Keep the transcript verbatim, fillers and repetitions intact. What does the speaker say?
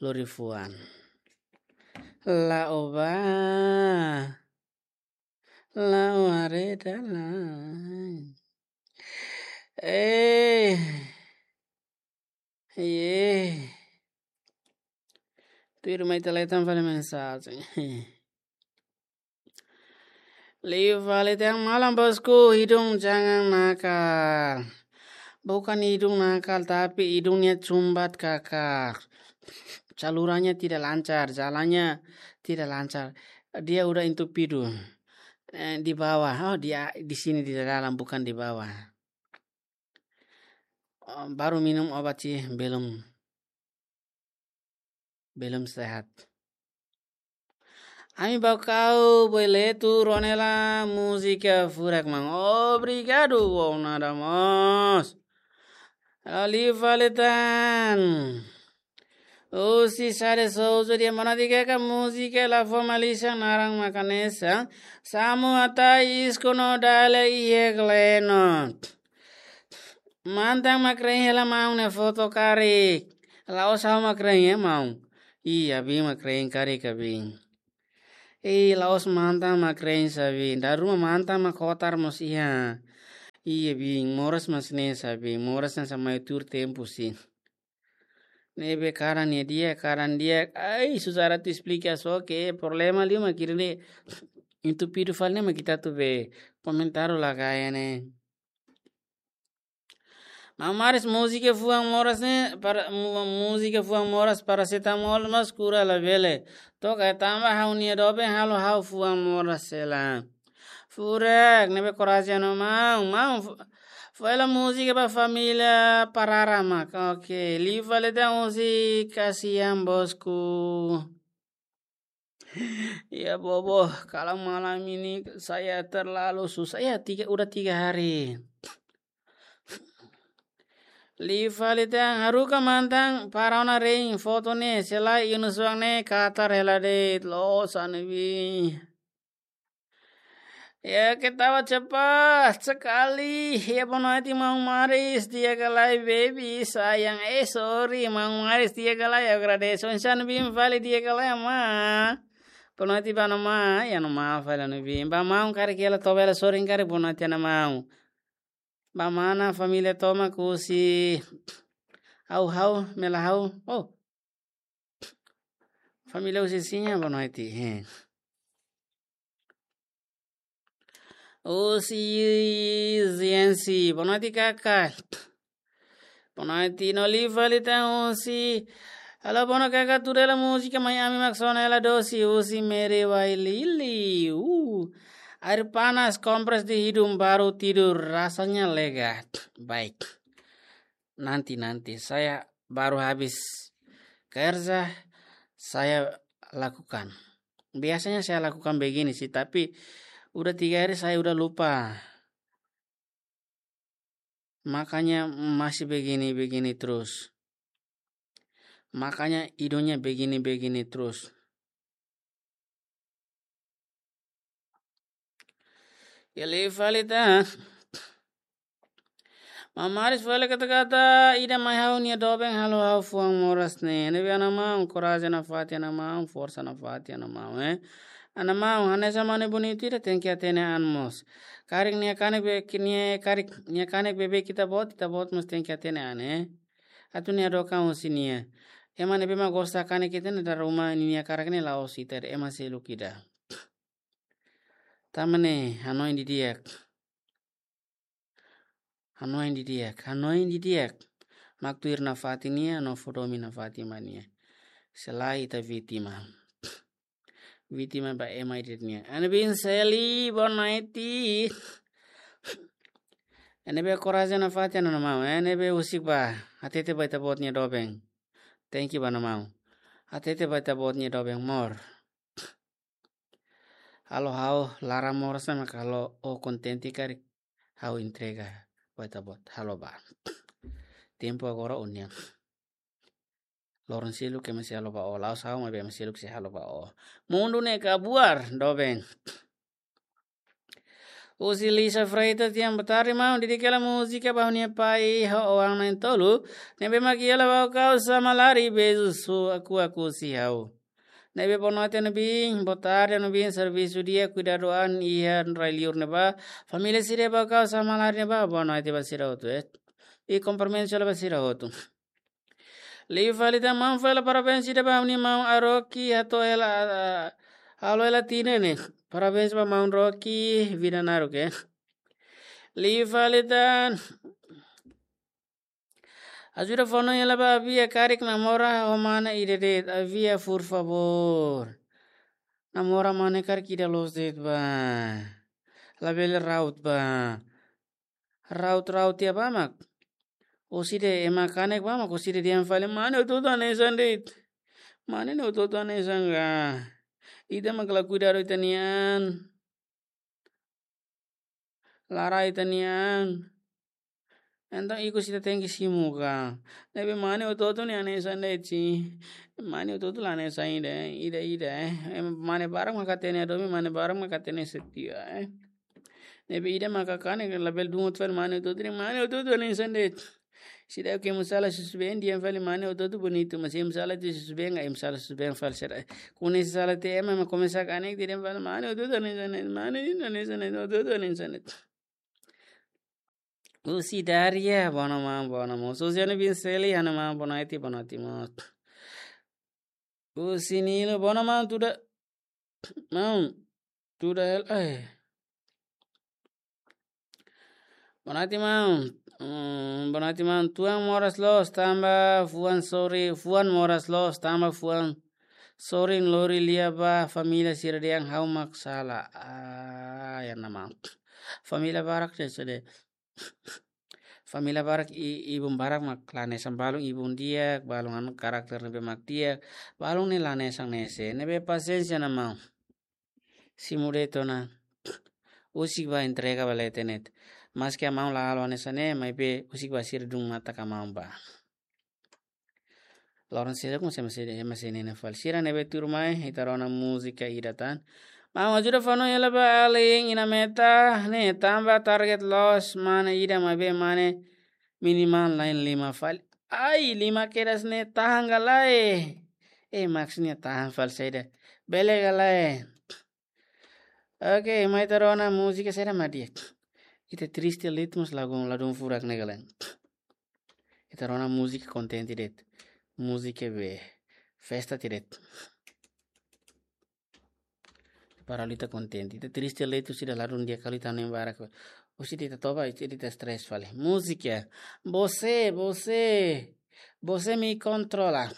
Lorifuan. La'o ba. La'o haree dalan. Eh. Ye. Tuir mai ita leten fali mensajen. Liu fali tiha malam bosku, hidung jangan nakal. Bukan hidung nakal, tapi hidungnya cumbat kakak. Salurannya tidak lancar, jalannya tidak lancar. Dia udah entupido. Eh, di bawah, oh, di, di sini di dalam, bukan di bawah. Oh, baru minum obat sih, belum, belum sehat. Ami ba kau boletu ronela múzika furak maun. Obrigadu, uau nada mós. Liu fali tan. Husi Sade Souza, dia mana tiga ka múzika la formaliza naran makanesa. Samu atai iskono dale iye gleno. Mantan mak rein hela maun ne'e foto karik. La'ós ha'u mak rein ya maun. Iya, bin mak rein karik ka bin. Eh, la'ós mantan mak rein sa bin. Dala ruma mantan mak kotar mós iha. Iya, bin, moras mós ne'e sa bin. Moras ne'e sa mai tuur tempu sih. Ne'ebé karan nia di'ak, karan di'ak. Ai, susah atu esplika só ke problema liu mak ida-ne'e. Entupido fali ne'e mak ita atu be komentáriu la gaya ne'e. Maun Maris, múzika fuan moras ne'e, para, mu-, múzika fuan moras, parasetamol mós kura labele. Toka tanba ha'u-nia doben halo ha'u fuan moras hela. Furak, ne'ebé korajen ona maun, maun, fu-, fó hela múzika ba família Parara mak. Oke, liu fali tan husi Kasihan Bosku. Ya, bobo, kalau malam ini saya terlalu susah. Ya, tiga, udah tiga hari. Liu fali tan, haruka mantan, para ona rein, foto ne'e, se lae iha nusuak ne'e, katar hela de'it, loos ne'ebé. Ya, ketawa cepat sekali. Ya, boa noite, maun Maris. Di'ak ka lae, baby, sayang. Eh, sorry, maun Maris. Di'ak ka lae, agradese. Oinsá ne'ebé fali, di'ak ka lae, ma. Boa noite ba Ana Maun. Ya, Ana Maun fali ne'ebé. Ba maun karik hela, toba hela sorin karik, boa noite, Ana Maun. Ba mana família tomak husi ha'u, ha'u, mela ha'u. Oh. Família husi Sinha, boa noite. He. Husi Ziensi, boa noite, kaka. Boa noite, no liu fali tan husi. Halo, bono kaka, tuur hela múzika mai ami mak sona hela dosi husi Mere Wailili. Uh. Air panas kompres di hidung baru tidur, rasanya lega. Baik. Nanti, nanti. Saya baru habis kerja, saya lakukan. Biasanya saya lakukan begini sih, tapi udah tiga hari saya udah lupa. Makanya masih begini-begini terus. Makanya hidungnya begini-begini terus. Ya, liu fali tan. Maun Maris fali kata-kata ida mai ha'u-nia doben halo ha'u fuan moras ne'e. Ne'ebé Ana Maun, korajen nafatin Ana Maun, forsa nafatin Ana Maun, eh. Ana Maun, hanesan mane bonitu ida tenke hatene an mós. Karik nia kanek be, ki-, nia karik, nia kanek beibeik ita-boot, ita-boot mós tenke hatene an, eh. Atu nia doka husi nia. Ema ne'ebé mak gosta kanek ita ne'e dala ruma ninia kanek ne'e la'ós ita de'it, ema seluk ida. Tanba ne'e, hanoin didi'ak. Hanoin didi'ak, hanoin didi'ak. Mak tuir nafatin nia, no fó domin nafatin ba nia. Se lae ita vítima. Vítima ba ema ida nian. Ana bin Seli, boa noite. Ne'ebé korajen nafatin Ana Maun. Ne'ebé husik ba. Hatete ba ita-boot nia doben. Thank you ba Ana Maun. Hatete ba ita-boot nia doben mós. Halo ha'u laran moras ne'e mak halo ó kontente karik ha'u entrega ba ita-boot. Halo ba. Tempu agora ó-nian. Loron seluk ema sei halo ba ó, la'ós ha'u maibé ema seluk sei halo ba ó. Mundu ne'e kabuar, doben. Husi Lisa Freitas, tian boa tarde, maun. Dedika hela múzika ba ha'u-nia pai ho oan na'in-tolu ne'ebé mak iha hela ba kau sama lari, beijo su aku aku si ha'u. Ne'ebé boa noite, Nubin. Boa tarde, Nubin. Servisu di'ak, kuidadu an iha rai-liur ne'ebá. Família sira ba kau sama lari ne'ebá. Boa noite ba sira hotu, eh. I kumprimentu hela ba sira hotu. Liu fali tan, maun, fali parabéns ida ba ha'u-nia maun Aroki, hato'o hela, ah, halo hela tinan ne'e. Parabéns ba maun Roki, vida naruk, eh. Liu fali tan. Ajuda fó hanoin hela ba Avia karik namora ho mane ida de'it, Avia, por favor. Namora mane karik ida loos de'it ba. Labele raut ba. Raut-raut tiha ba mak. Orsida ema kanek ba mak, orsida dehan fali, mane hotu-hotu hanesan de'it. Mane ne'e hotu-hotu hanesan ka. Ita mak la kuidadu ita-nia an. La rai ita-nia an. Entaun ikus ita tenke simu ka. Ne'ebé mane hotu-hotu ne'e hanesan de'it, si. Mane hotu-hotu la hanesan ida, ida, ida, eh. Em, mane barak mak hatene hadomi, mane barak mak hatene setia, eh. Ne'ebé ida mak kanek, labele dungut fali mane hotu-hotu ne'e, mane hotu-hotu hanesan de'it. Sira ke musala susubeen, dehan fali mane hotu-hotu bonitu, mas ema sala tiha susubeen, ema sala susubeen fali sira. Kuandu sala tiha ema, ema komesa kanek, dehan fali mane hotu-hotu hanesan de'it, mane hanesan de'it, hotu-hotu hanesan de'it. Husi Daria, boa noite maun, boa noite maun. Sosiano Vinceli, ha'u-nia maun, boa noite, boa noite maun. Husi Nilo, boa noite maun, tuda, maun, tuda hela, eh. Boa noite maun. Hmm, boa noite maun. Tuan moras loos tanba fuan sorin, fuan moras loos tanba fuan sorin, lori lia ba família sira dehan ha'u mak sala. Ah, ya nama. Família barak ne'e sede. Família barak i-, ibun barak mak la hanesan, balun ibun di'ak, balun anu karakter ne'ebé mak di'ak, balun ne'e la hanesan ne'e, se ne'ebé pasiénsia, nama. Simu de'it ona. Husik ba entrega ba leten ne'e. Maske maun la halo hanesan ne'e, maibé husik ba sira dun mata ka maun ba. Loron sira ku se masi, masi ne'e fali. Sira ne'ebé tuur mai, ita rona múzika ida tan. Maun, ajuda fó hanoin hela ba alin inan metan ne'e, tanba target loos mane ida, maibé mane minimal la'en lima fali. Ai, lima kedas ne'e tahan ka lae. Eh, maksudnya tahan fali saida. Bele ka lae. Oke, mai ita rona múzika saida mak di'ak. Ita triste liu, mas lagu ladún furak ne'e ka lae. Ita rona múzika kontente de'it. Múzika be festa de'it. Para ita kontente. Ita triste liu, sira ladún di'ak kali, ita nem barak. Orsida ita toba, ita, ita stress fali. Múzika. Você, você, você me controla.